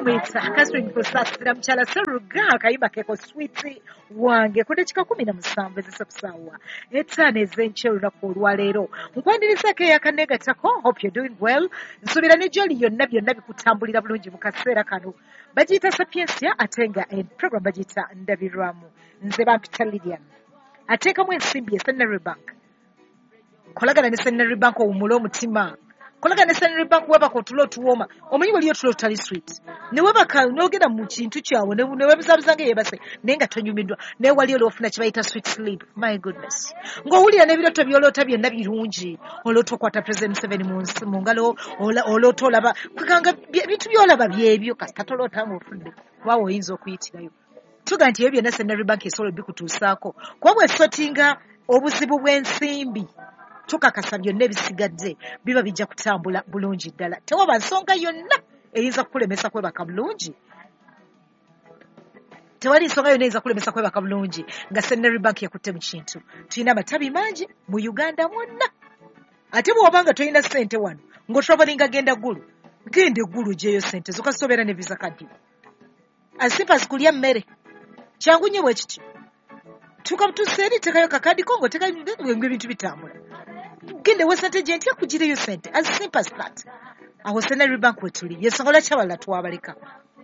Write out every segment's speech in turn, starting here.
Bamuyita Catherine Kusasira, mukyala Seruga, akayimba keko "Sweet Wange", ku dakika 17 ezisa ku ssaawa 5 ez'enkya olunaku olwaleero. Nkwanirizaako eyakaneegattako. Hope you're doing well. Nsuubira ne gyoli yonna byonna bikutambulira bulungi mu kaseera kano. Bagiyita Sapiensia, ate nga program bagiyita Ndabirwamu. Nze bampita Lilian. Ateekamu ensimbi e Centenary Bank. Kolagana ne Centenary Bank, owummule omutima. Kolagana ne Centenary Bank, webaka otulo otuwooma. Omanyi waliyo otulo tutali sweet, ne webaka n'ogenda mu kintu kyawe ne weebuzaabuza nga yeebase, naye nga tonyumiddwa. Naye wali olwofuna kye bayita sweet sleep, my goodness, ng'owulira n'ebirooto by'oloota byonna birungi. Oloota okwata President Museveni mu ngalo, oloota olaba kweganga ebintu by'olaba byebyo. Kasita toloota ng'ofudde, kubaawe oyinza okuyitirayo. Tuga nti ebyo byonna Centenary Bank esobola obikutuusaako, kuba bw'esortinga obuzibu bw'ensimbi, tukakasa byonna ebisigadde biba bijja kutambula bulungi ddala. Tewaba nsonga yonna eyinza kukulemesa kwebaka bulungi. Tewali nsonga yonna eyinza kukulemesa kwebaka bulungi nga Centenary Bank yakutte mu kintu. Tulina amatabi mangi mu Uganda mwonna. Ate bw'oba nga tolina ssente wano ng'otravelinga, genda Ggulu, genda eggulu gyeyo ssente zo, kasita obeera ne Visa card. As simple as kulya mmere, kyangu nnyo bwe kityo. Tuuka butuusa eri, tekayo kakadi ko ng'otekayo, ebintu bitambula. Genda ewa sente gye ntya kugireyo sente, as simple as that. Awo Centenary Bank wetuli. Yensonga lwaki abalala twabaleka.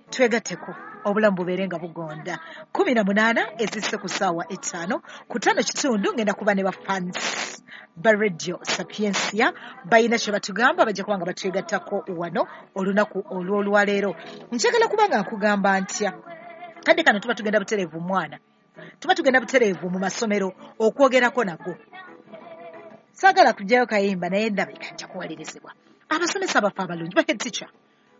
Twegatteko, obulamu bubeere nga bugonda. 18 ezisse ku ssaawa 5, ku 5 kitundu ngenda kuba ne bafans ba Radio Sapiensia, balina kye batugamba, bajja kuba nga batwegattako wano olunaku olw'olwaleero. Njagala kuba nga nkugamba ntya, kadde kano tuba tugenda butereevu, mwana, tuba tugenda butereevu mu masomero okwogerako nago. Saagala kugyayo kayimba, naye ndabika nja kuwalirizibwa. Abasomesa baffe abalungi, ba head teacher,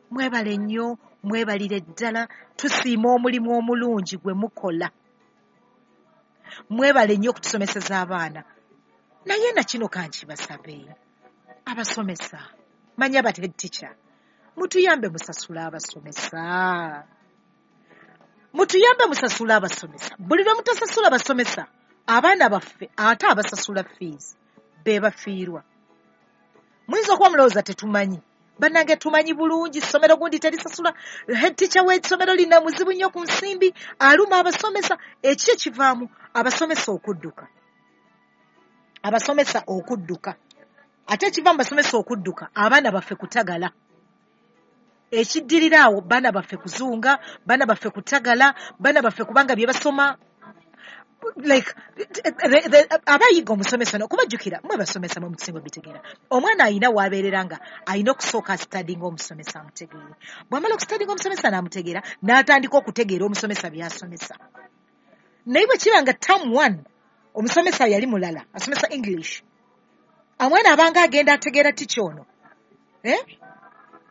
mwebale nnyo, mwebalire ddala. Tusiima omulimu omulungi gwe mukola. Mwebale nnyo okutusomeseza abaana. Naye nakino kankibasabe, abasomesa, manya ba head teacher, mutuyambe musasule abasomesa, mutuyambe musasule abasomesa. Buli lwe mutasasula basomesa, abaana baffe ate abasasula fees be bafiirwa. Muyinza okuba mulowooza tetumanyi. Bannange, tumanyi bulungi. Ssomero gundi terisasula, head teacher w'essomero lina muzibu nnyo ku nsimbi, aluma abasomesa. Eki ekivaamu? Abasomesa okudduka, abasomesa okudduka. Ate ekiva mu basomesa okudduka, abaana baffe kutagala. Ekiddirira awo, baana baffe kuzunga, baana baffe kutagala, baana baffe kubanga bye basoma, like abayiga omusomesa nokubajjukira. Mwe basomesa mwe musinga obitegeera. Omwana ayina waabeerera nga ayina okusooka astudyinga omusomesa amutegeere. Bw'amala okustudyinga omusomesa n'amutegeera, n'atandika okutegeera omusomesa by'asomesa. Naye bwe kiba nga term one omusomesa yali mulala, asomesa English, omwana abanga agenda ategeera teacher ono, eh?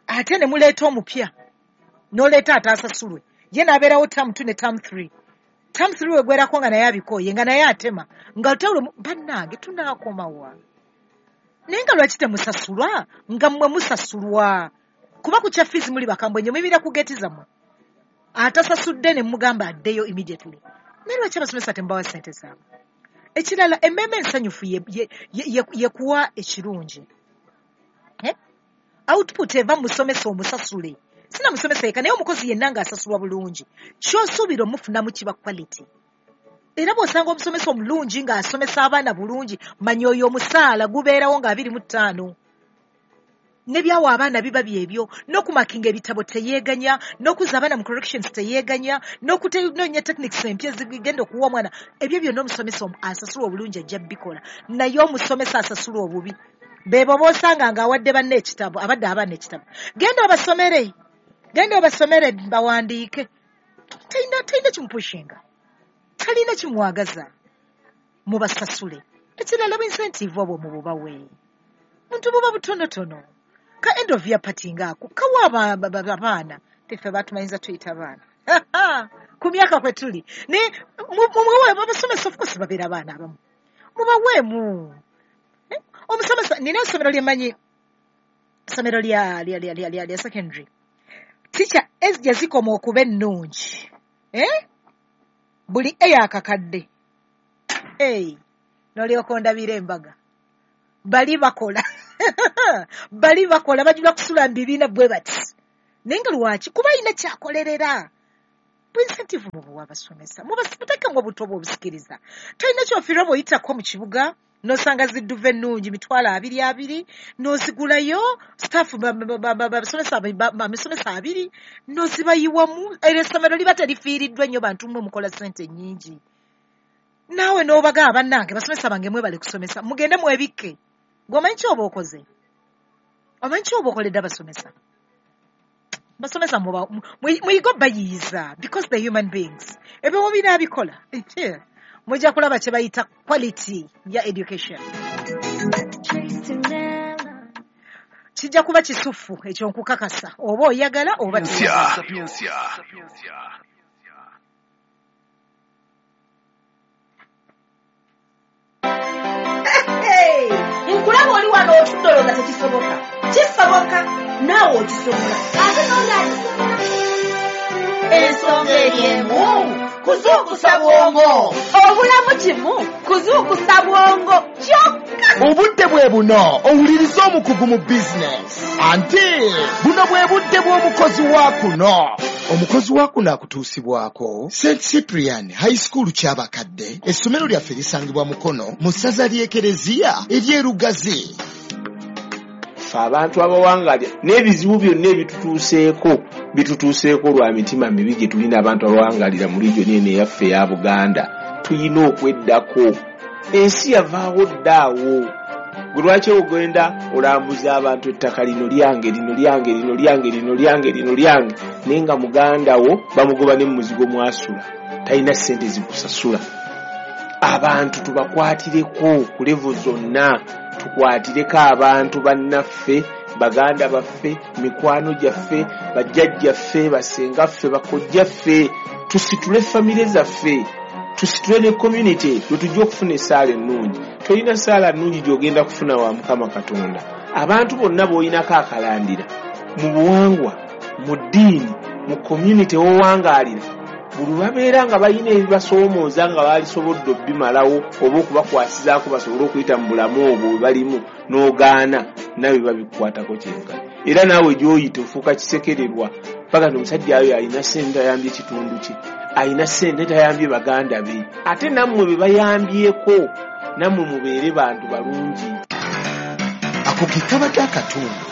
Ate ne muleeta omupya, n'oleeta ataasasulwe, ye n'abeerawo term two ne term three. Term three wegwerako nga naye abikooye, nga naye atema nga tawulo. Bannange, tunaakomawa? Naye nga lwaki temusasulwa nga mmwe musasulwa? Kuba ku kya fees muli bakambwe nnyo, muyimira ku geeti zammwe, atasasudde ne mugamba addeyo immediately. Naye lwaki abasomesa temubawa ssente zaabwe? Ekirala, emmeeme ensanyufu yekuwa ekirungi. Eh? Output eva mu musomesa omusasule, sina musomesa yekka, naye omukozi yenna ng'asasulwa bulungi, ky'osuubira omufunamu kiba quality. Era bw'osanga omusomesa omulungi ng'asomesa abaana bulungi, manya oyo omusaala gubeerawo nga 25, ne byawa abaana biba byebyo, n'okumarkinga ebitabo teyeeganya, n'okuzza abaana mu corrections teyeeganya, n'okunoonya techniques empya zigenda okuwa omwana. Ebyo byonna omusomesa asasulwa obulungi ajja bikola. Naye omusomesa asasulwa obubi, beebo b'osanga ng'awadde banne ekitabo, abadde abaana ekitabo, "Genda obasomere, genda obasomere bawandiike." Talina kimupushinga, talina kimwagaza. Mubasasule. Ekirala, bwincentive obwo mububawe, muntu buba butonotono, ka end of year party ngaako kawa abaana. Teffe batumanyiza tuyita baana ku myaka kwe tuli, naye mumuwe abasomesa. Of course babeera abaana abamu, mubaweemu. Eh, omusomesa, nina essomero lyemmanyi, essomero lya secondary, teacher gye zikoma okuba ennungi, eh? Buli eyakakadde. Hey, n'olyoka ondabira embaga. Bali bakola, bali bakola, bajula kusula mu bibiina bwe bati. Naye nga lwaki? Kuba alina kyakolerera. Incentive mubuwa abasomesa, mubateekemu obuto bw'obusikiriza. Tolina kyofiirwa bw'oyitako mu kibuga n'osanga zidduva ennungi 20,000 n'ozigulayo staff abasomesa 2 n'ozibayiwamu. Era essomero liba terifiiriddwa nnyo, bantu mmwe mukola ssente nnyingi. Naawe n'obagamba, bannange basomesa bange mwebale kusomesa, mugende mwebikke. Gwe omanyi ki oba okoze? Omanyi ki oba okoledde abasomesa? Basomesa muyigo bayiyiza because they're human beings. Ebyo mubinaabikola mujja kulaba kye bayita quality ya education. Kijja kuba kisufu ekyo nkukakasa, oba oyagala oba toyagala. Nkulaba oli wano otudde olowooza tekisoboka. Kisoboka, naawe okisobola, ate n'oli akisobola. Ensonga eri emu, kuzuukusa bwongo. Obulamu kimu, kuzuukusa bwongo kyokka. Obudde bwe buno owuliriza omukugu mu bizinesi. Anti buno bwe budde bw'omukozi wa kuno. Omukozi wa kuno akutuusibwako St Cyprian High School Kyabakadde. Essomero lyaffe lisangibwa Mukono mu ssaza ly'Ekereziya ery'Erugazi. Ffe abantu abawangalira n'ebizibu byonna ebitutuuseeko bitutuuseeko lwa mitima mibi gye tulina. Abantu abawangalira mu region eno eyaffe eya Buganda tulina okweddako. Ensi yavaawo ddaawo. Gwe lwaki ogenda olambuza abantu ettaka lino lyange, lino lyange, lino lyange, lino lyange, lino lyange, naye nga muganda wo bamugoba ne muzigo mwasula, talina ssente zikusasula. Abantu tubakwatireko ku level zonna, tukwatireko abantu bannaffe, baganda baffe, mikwano gyaffe, bajjajjaffe, basengaffe, bakojjaffe, tusitule famire zaffe, tusitule ne community lwe tujja okufuna essaala ennungi. Tolina ssaala nnungi gy'ogenda kufuna wa Mukama Katonda. Abantu bonna b'olinako akalandira mu buwangwa, mu ddiini, mu community w'owangaalira, buli babeera nga balina ebibasoomooza nga baalisobodde obbimalawo oba okubakwasizaako basobole okuyita mu bulamu obwo bwe balimu, n'ogaana nawe babikukwatako kyenkana. Era naawe gy'oyita ofuuka kisekererwa paka nti omusajja oyo alina ssente tayambye kitundu kye, alina ssente tayambye baganda be. Ate nammwe be bayambyeko, nammwe mubeere bantu balungi. Ako ke kabadde akatundu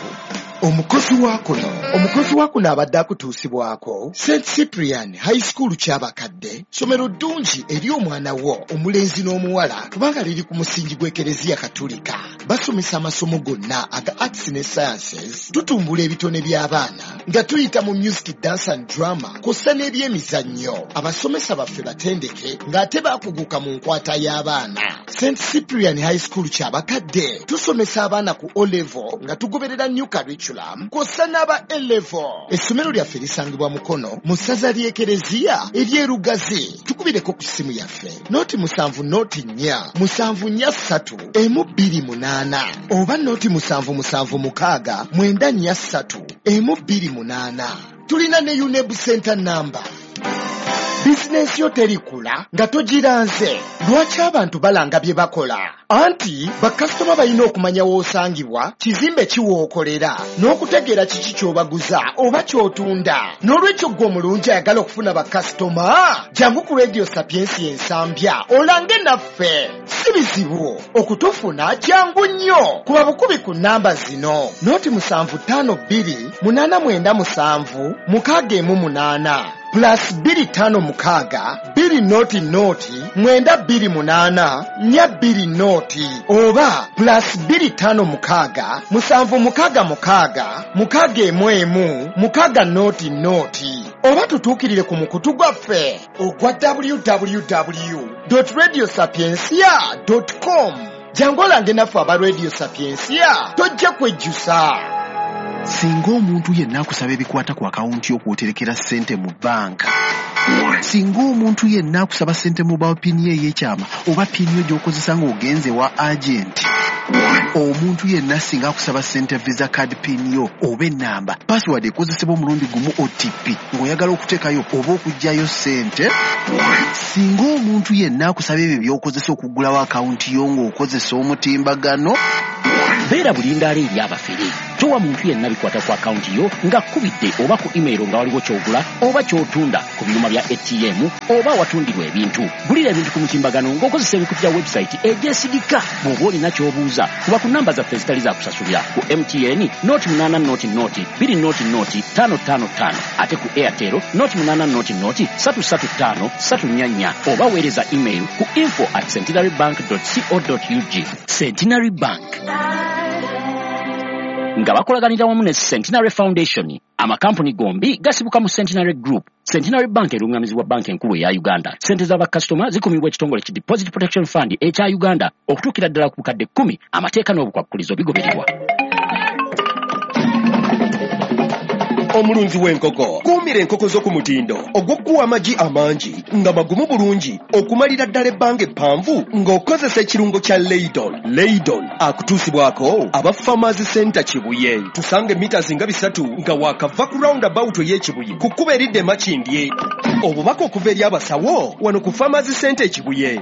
omukozi wa kuno. Omukozi wa kuno abadde akutuusibwako St Cyprian High School Kyabakadde. Ssomero ddungi eri omwana wo omulenzi n'omuwala kubanga liri ku musingi gw'Ekereziya Katulika. Basomesa amasomo gonna aga arts ne sciences. Tutumbula ebitone by'abaana nga tuyita mu music, dance and drama kw'ossa n'ebyemizannyo. Abasomesa baffe batendeke ng'ate baakuguka mu nkwata y'abaana. St Cyprian High School Kyabakadde tusomesa abaana ku O level nga tugoberera new curriculum kw'ossa n'aba A level. Essomero lyaffe lisangibwa Mukono mu ssaza ly'Ekereziya ery'Erugazi. Tukubireko ku ssimu yaffe 0 7 0 4 7 4 3 1 2 8 oba 0 7 7 6 9 4 3 1 2 8. Tulina ne UNEB center number. Bizinensi yo terikula nga togiranze. Lwaki abantu balanga bye bakola? Anti bakasitoma balina okumanya w'osangibwa, kizimbe kiwookolera, n'okutegeera kiki ky'obaguza oba ky'otunda. N'olwekyo ggwe omulungi ayagala okufuna bakasitoma, jangu ku Radio Sapiensi Ensambya olange naffe. Si bizibu okutufuna, kyangu nnyo. Kuba bukubi ku nnamba zino: 0 7 5 2 8 9 7 6 1 8, +256 2 0 0 9 2 8 4 2 0, oba +256 7 6 6 6 1 1 6 0 0, oba tutuukirire ku mukutu gwaffe ogwa www radio sapiencia com. Jangu olange naffe aba Radio Sapiencia, tojja kwejjusa. Singa omuntu yenna akusaba ebikwata ku akawunti y'okwoterekera ssente mu bbanka, singa omuntu yenna akusaba ssente mobile PIN ye ey'ekyama oba PIN yo gy'okozesa ng'ogenze wa agenti, omuntu yenna singa akusaba ssente visa card PIN yo oba ennamba password ekozesebwa omulundi gumu OTP ng'oyagala okuteekayo oba okuggyayo ssente, singa omuntu yenna akusaba ebyo by'okozesa okuggulawo akawunti yo ng'okozesa omutimbagano, Beera bulindaala eri abafere. Towa muntu yenna bikwata ku akawunti yo nga kkubidde oba ku email nga waliwo ky'ogula oba ky'otunda ku byuma bya ATM oba awatundirwa ebintu. Gulira ebintu ku mutimbagano ng'okozesa emikutu gya website egyesigika. Bw'oba olina ky'obuuza, kuba ku namba zaffe ezitali za kusasulira ku MTN 080 0 2 0 5 5 5, ate ku Airtel 080 0 3 3 5 3 4 4, oba weereza email ku info@centenarybank.co.ug. Centenary Bank nga bakolaganira wamu ne Centenary Foundation. Amakampuni gombi gasibuka mu Centenary Group. Centenary Bank erungamizibwa Banka Enkulu eya Uganda. Sente z'abakasitoma zikumibwa ekitongole ki Deposit Protection Fund ekya Uganda okutuukira ddala ku bukadde 10. Amateeka n'obukwakkulizo bigobererwa. Omulunzi w'enkoko, kuumira enkoko zo ku mutindo ogw'okuwa amagi amangi nga magumu bulungi okumalira ddala ebbanga eppanvu ng'okozesa ekirungo kya Leydon. Leydon akutuusibwako aba Farmers Center Kibuye. Tusanga mita nga 3 nga wakava ku roundabout ey'Ekibuye ku kkubo eridda e Makindye. Obubaka okuva eri abasawo wano ku Farmers Center Ekibuye.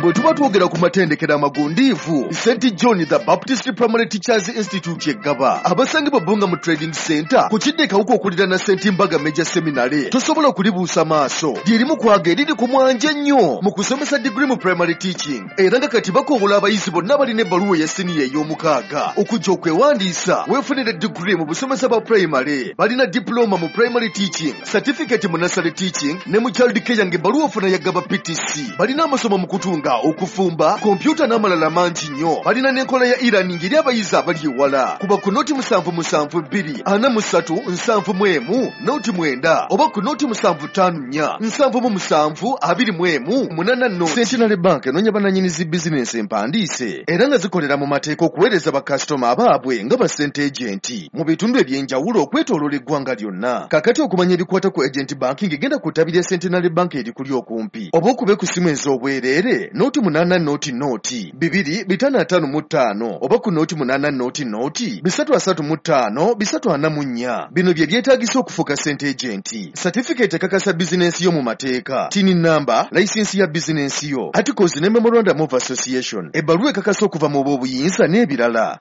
Bwe tuba twogera ku matendekero amagundiivu, St John the Baptist Primary Teachers Institute eggaba abasangibwa Bbunga mu Trading Center ku kidde Kawuka okuliraana St Mbaga Major Seminary, tosobola kulibuusa maaso. Lyerimu kwaga eriri ku mwanje ennyo mu kusomesa digiri mu primary teaching, era nga kati bakowola abayizi bonna balina ebbaluwa eya siniya ey'omukaaga okujja okwewandiisa weefunire digiri mu busomesa bwa primary. Balina diploma mu primary teaching, certificate mu nursery teaching ne mu child care ng'ebbaluwa ofuna ya Gaba PTC. Balina amasomo mu kutunga, okufumba, kompyuta n'amalala mangi nnyo. Balina n'enkola ya e-learning eri abayizi abali ewala. Kuba ku 077 2 43 71 09 oba ku 075 4 77 21 80. Centenary Bank enoonya bannannyini zi bizinensi empandiise era nga zikolera mu mateeka okuweereza bakasitoma abaabwe nga ba sente agenti mu bitundu eby'enjawulo okwetooloola eggwanga lyonna. Kaakati okumanya ebikwata ku agent banking, genda ku ttabi lya Centenary Bank erikuli okumpi oba okube ku ssimu ez'obwereere 080 0 2 555 oba ku 080 0 335 344. Bino bye byetaagisa okufuuka sente agenti: certificate ekakasa bizinensi yo mu mateeka, TIN number, layisinsi ya bizinensi yo, articles ne memorandum of association, ebbaluwa ekakasa okuva mu b'obuyinza n'ebirala.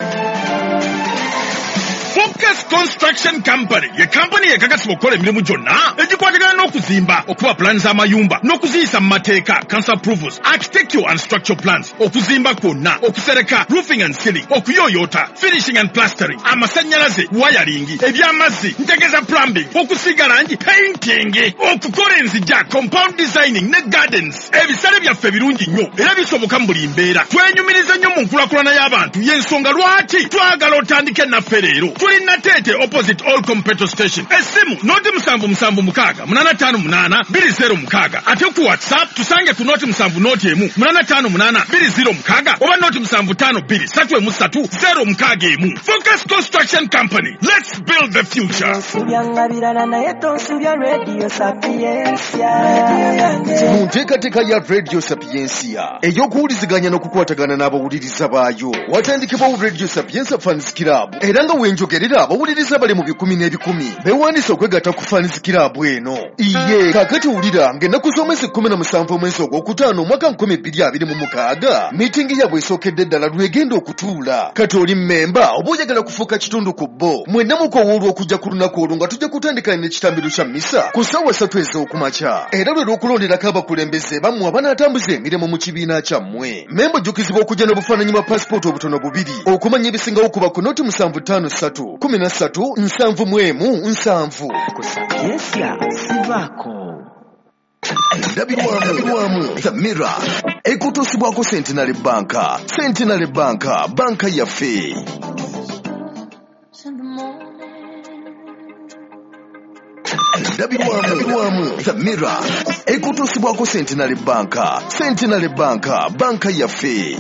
Focus Construction Company ye kampani ekakasibwa okukola emirimu gyonna egikwatagana n'okuzimba, okuba pulaani z'amayumba n'okuziyisa mu mateeka, council approvals, architectural and structural plans, okuzimba kwonna, okusereka, roofing and ceiling, okuyooyoota, finishing and plastering, amasannyalaze, wiring, ebyamazzi, ntegeza plumbing, okusiiga langi, painting, okukola enzija, compound designing ne gardens. Ebisale byaffe birungi nnyo era bisoboka mu buli mbeera. Twenyumiriza nnyo mu nkulaakulana y'abantu, y'ensonga lwaki twagala otandike naffe leero. Tuli Nateete opposite All Petrol Station. Essimu 077 6 85 206, ate ku WhatsApp tusange ku 070 1 858 206 oba 075 2 3 061. Focus Construction Company, let's build the future. Onsubya birala naye tonsubya Radio Sapientia. Mu nteekateeka ya Radio Sapientia ey'okuwuliziganya n'okukwatagana n'abawuliriza baayo, watandikibwawo Radio Sapientia Fans Club, era nga wenjogerera abawuliriza bali mu bikumi n'ebikumi beewandiisa okwegatta ku Fans Club eno. Iye kaakati wulira ng'ennaku z'omwezi 17 omwezi ogwokutaano omwaka 2026 miitingi yaabwe esookedde ddala lwegenda okutuula. Kati oli mmemba oba oyagala kufuuka kitundu ku bo, mwenna mukowoolwa okujja ku lunaku olwo nga tujja kutandika n'ekitambiro kya misa ku ssaawa 3 ez'okumakya, era lwe lw'okulonderako abakulembeze bammwe abanaatambuza emirimu mu kibiina kyammwe. Memba ojjukizibwa okujja n'obufaananyi bwa pasipooti obutono bubiri. Okumanya ebisingawo kuba ku 075 3 13 71 70. Ku Sapientia sivaako. Endabirwamu The Mirror ekutuusibwako Centenary Bank. Centenary Bank, banka yaffe. Endabirwamu The Mirror ekutuusibwako Centenary Bank. Centenary Bank, banka yaffe.